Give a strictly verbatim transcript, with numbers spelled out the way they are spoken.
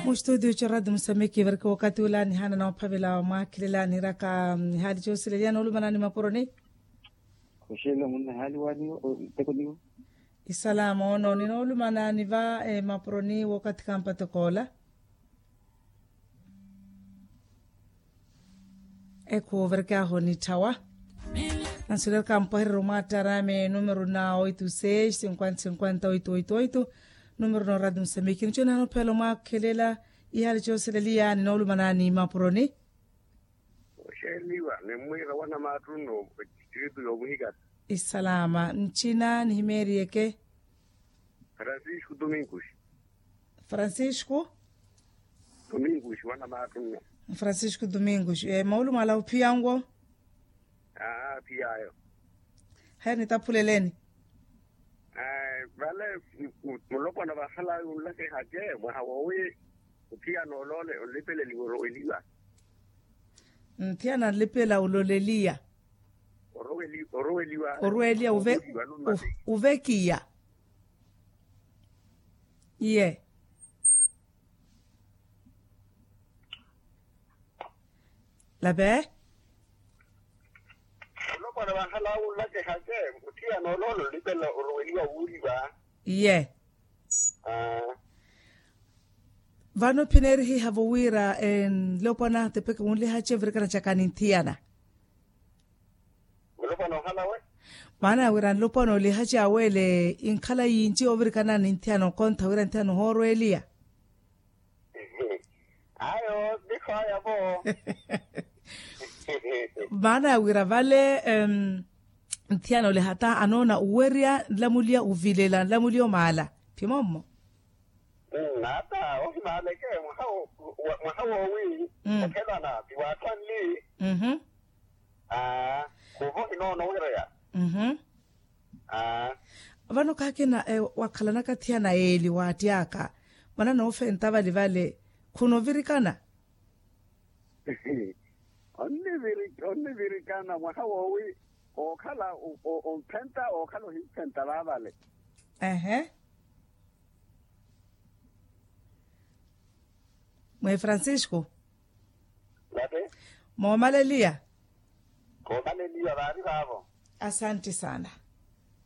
Mustudio charadi musameki varika wakati ula nihana na ophavela mwakhilela niraka. Hali chosileliya nolumana ni mapuroni. Kushela munna hali waniwo nteko niwo. Isalama ono ninolumana niva mapuroni wakati kampatokola. Ekhuvereke aho nitthawa. Nansulelaka mpwahereryo mwaattarame numero na oito seis cinquenta cinquenta oito oito oito. Numero na oradi musamiki nicho nanophela omwakhelela. Ihali choseleliya ninoolumanani mapuroni. Oxeeliwa nimmwiira wanamaattunno. Distritu yomuhikata. Isalama nchina nihimeeriyeke. Francisco domingos. Francisco. Domingos wanamaattunno. Francisco domingos moolumala ophiyanwo. Aa phiyaayo. Haya nitaphuleleni. Vale mulopwana vahalaayo onlakehace mwaha woowi. Othiyana oloole onlipeleliwa oroweliwa. Nthiyana nlipela ololeliya. Oroweliwa oroweliya ovekiya. Iye. Lape. Olopwana vanhala wunlakehace. Othiyana oloole onlipela oroweliwa wuuriwa. Iye. Vano phineerihiha vo wira nlopwana tepeke wunlihace ovirikana caka ni nthiyana. Maana ya wira nlopwana olihace aweele inkhala yinci ovirikana ni nthiyana okontha wira nthiyana ohoorweeliya. Ayo nikho aya vo. Maana ya wira vale nthiyana olihata anoona uwerya nlamuliya uvilela nlamuliya omaala. Phimommo. Nata ohimaaleke mwaha woowi okhelana ti waatthu anli. Khuuva ohinoono wireya. Vano khakina wakhalanaka thiyana yeeli waattyaka mwana noofenta vali vale. Khunovirikana. Onnivirikana mwaha woowi ookhala omphenta ookhala ohimphenta vaavale. Ehe. Mwe francisco. Momaleliya. Komaleliya vaari vaavo. Asanti sana.